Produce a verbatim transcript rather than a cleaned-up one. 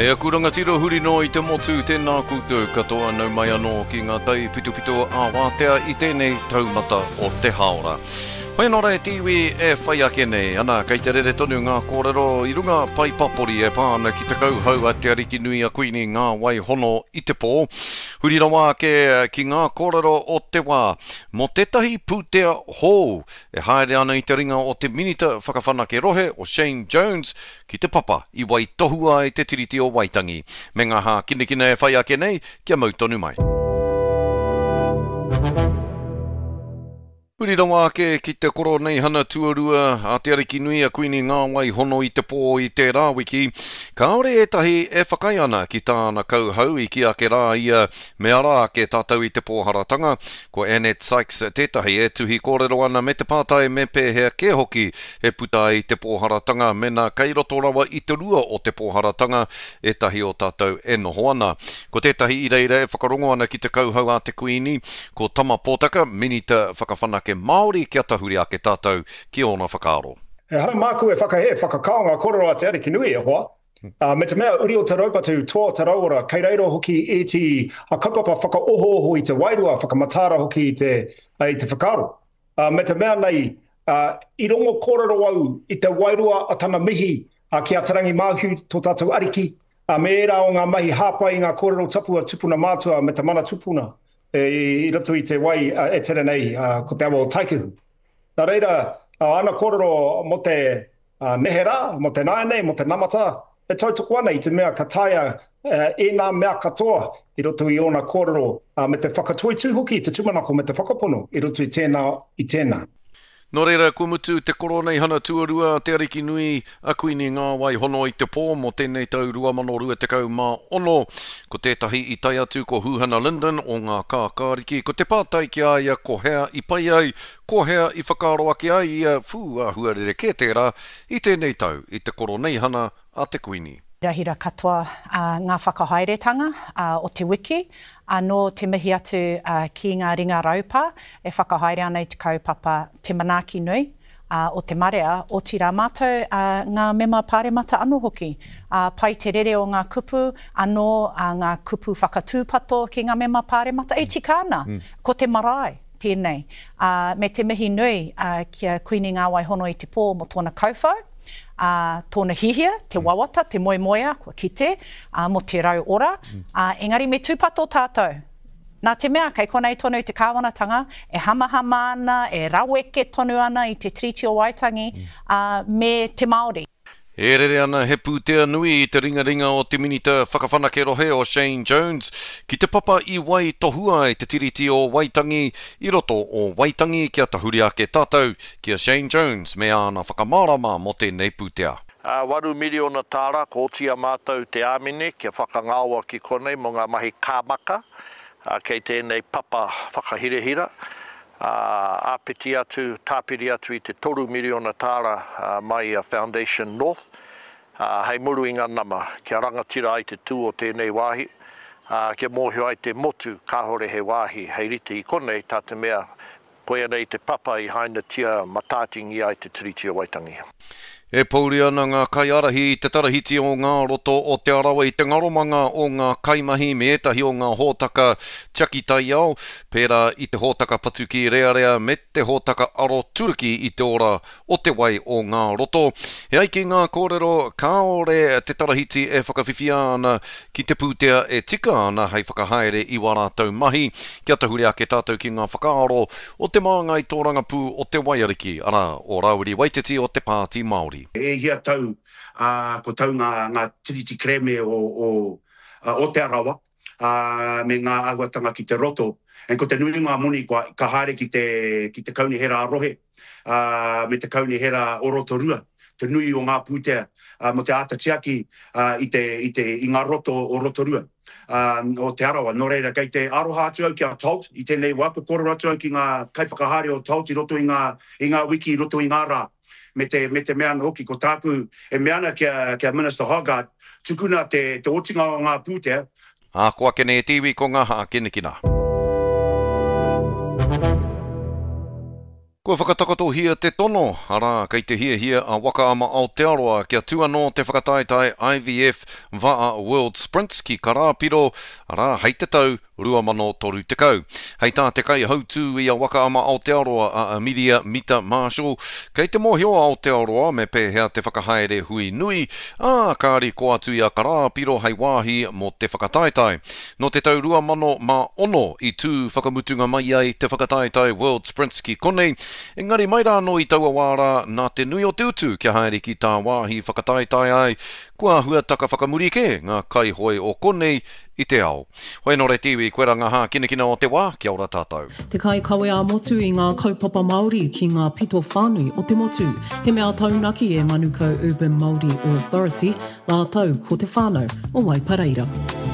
E aku rangatira huri noa i te motu, tēnā koutou katoa nau mai anō ki ngā taipitopito ā-wātea i tēnei taumata o te hāora. Hoi anō rā e te iwi e whai ake nei, ana, kei te rere tonu ngā kōrero i runga pae papori e pā ana ki te kauhau a Te Arikinui a Kuini Ngā Wai Hono i te Pō. Huri rawa ake ki ngā kōrero o te wā mō tētahi pūtea hou e haere ana i te ringa o te Minita Whakawhanake Rohe o Shane Jones ki te papa i waitohua ai te Tiriti o Waitangi, me ngā hākinakina e whai ake nei kia mau tonu mai. Huri rawa ake ki te Koroneihana tuarua a Te Arikinui a Kuini Ngāwai Hono i te pō i tērā wiki, kāore ētahi e whakaae ana ki tāna kauhau i kī ake rā ia me ara ake tātou i te pōharatanga. Ko Annette Sykes tētahi e tuhi kōrero ana me te pātai me pēhea kē hoki e puta ai te pōharatanga mēnā kei roto rawa i te rua o te pōharatanga ētahi o tātou e noho ana. Ko tētahi i reira e whakarongo ana ki te kauhau a te Kuini, ko Tama Pōtaka, Minita Whakawhanake Māori kia tahuri ake tātou ki ōna whakaaro. Ehara māku e whakahē, whakakao ngā kōrero a Te Arikinui, e hoa. Ā, me te mea uri o te raupatu, toa o te rauora, kei reira hoki ēti kaupapa whakaohooho i te wairua, whakamataara hoki i te, i te whakaaro. Ā, me te mea nei, ā, i rongo kōrero au i te wairua a tana mihi ki a Te Rangi Māhū, tō tātou Ariki, ā, me ērā o ngā mahi hāpai i ngā kōrero tapu a tupuna mātua me te mana tupuna i roto i te wai e tere nei, ko te awa o Taikehu. Nā reira, āna kōrero mō te neherā, mō te nāianei, mō te namata, e tautoko ana i te mea ka taea ēnā mea katoa i roto i ōna kōrero me te whakatoitū hoki i te tūmanako me te whakapono i roto i tēnā, i tēnā. Nō reira, kua mutu te Koroneihana tuarua a Te Arikinui a Kuini Ngāwai Hono i te Pō mō tēnei tau rua mano rua tekau mā ono. Ko tētahi i tae atu ko Huhana Lyndon o Ngā Kākāriki, ko te pātai ki a ia ko hea i pai ai, ko hea i whakaaro ake ai ia, whū, āhua rerekē tērā i tēnei tau i te Koroneihana a te Kuini. Hirahira katoa ngā whakahaeretanga o te wiki, anō te mihi atu ki ngā ringa raupā e whakahaere ana i te kaupapa Te Manaaki Nui o te Marea, otirā mātou ngā mema pāremata anō hoki. Pai te rere o ngā kupu, anō ngā kupu whakatūpato ki ngā mema pāremata, e tika ana, ko te marae tēnei, me te mihi nui ki a Kuini Ngāwai Hono i te Pō mō tōna kauwhau. ā, tōna hihia, te wawata, te moemoeā, kua kite, ā, mō te rau ora, ā, engari me tūpato tātou. Nā te mea, kei konei tonu te kāwanatanga e hamahama ana, e raweke tonu ana i te Tiriti o Waitangi, ā, me te Māori. E rere ana he pūtea nui i te ringaringa o te Minita Whakawhanake Rohe o Shane Jones ki te papa i waitohua ai te Tiriti o Waitangi i roto o Waitangi kia tahuri ake tātou ki a Shane Jones me āna whakamārama mō tēnei pūtea. Ā, waru miriona tāra kua oti i a mātou te āmine kia whakangaoa ki konei mō ngā mahi kāmaka kei tēnei papa whakahirahira, ā, āpiti atu, tāpiri atu i te toru miriona tāra mai i a Foundation North, ā, hei muru i ngā nama kia rangatira ai te tū o tēnei wāhi, ā, kia mōhio ai te motu kāore he wāhi hei rite i konei, tā te mea koia nei te papa i hainatia matātingia ai te Tiriti o Waitangi. E pouri ana ngā kaiārahi i te tarahiti o ngā roto o Te Arawa i te ngaromanga o ngā kaimahi me ētahi o ngā hōtaka tiaki taiao, pērā i te hōtaka patu kīrearea me te hōtaka aroturuki i te ora o te wai o ngā roto. E ai ki ngā kōrero, kāore te tarahiti e whakawhiwhia ana ki te pūtea e tika ana hei whakahaere i wā rātou mahi. Kia tahuri ake tātou ki ngā whakaaro o te māngai tōrangapū o te Waiariki, arā, o Rāwiri Waititi o te Pāti Māori. E hia tau, ā, ko tau ngā, ngā tiriti kerēme o, o, o Te Arawa, ā, me ngā āhuatanga ki te roto. And ko te nui o ngā moni kua, ka haere ki te, ki te kaunihera ā-rohe, ā, me te kaunihera o Rotorua, te nui o ngā pūtea, ā, mō te āta tiaki, ā, i te, i te, i ngā roto o Rotorua, ā, o Te Arawa. Nō reira, kei te aroha atu au ki a Tolt i tēnei wā, kua kōrero atu au ki ngā kaiwhakahaere o Tolt i roto i ngā, i ngā wiki, i roto i ngā rā. Me te, me te mea anō hoki, ko tāku e mea ana ki a, ki a Minister Hoggard, tukuna te, te otinga o ngā pūtea, Ā, ko ake nei e te iwi ko ngā hākinakina. Kua whakatakotohia te tono, arā, kei te hiahia a Waka Ama Aotearoa kia tū anō te whakataetae IVF Va'a World Sprints ki Karāpiro, arā, hei te tau rua mano toru tekau. Hei tā te kaihautū i a Waka Ama Aotearoa a Amiria Mita Marshall, kei te mōhio a Aotearoa me pēhea te whakahaere hui nui, ā, kāri ko atu i a Karāpiro hei wāhi mō te whakataetae. Nō te tau rua mano mā ono i tū whakamutunga mai ai te whakataetae World Sprints ki konei, engari mai rā anō i taua wā rā nā te nui o te utu kia haere ki tāwāhi whakataetae ai, kua āhua taka whakamuri kē ngā kaihoe o konei i te ao. Hoi anō re te iwi, koirā ngā hākinakina o te wā, kia ora tātou. Te kaikawe ā-motu i ngā kaupapa Māori ki ngā pito whānui o te motu. He mea taunaki e Manukau Urban Māori Authority rātou ko te whānau o Waipareira.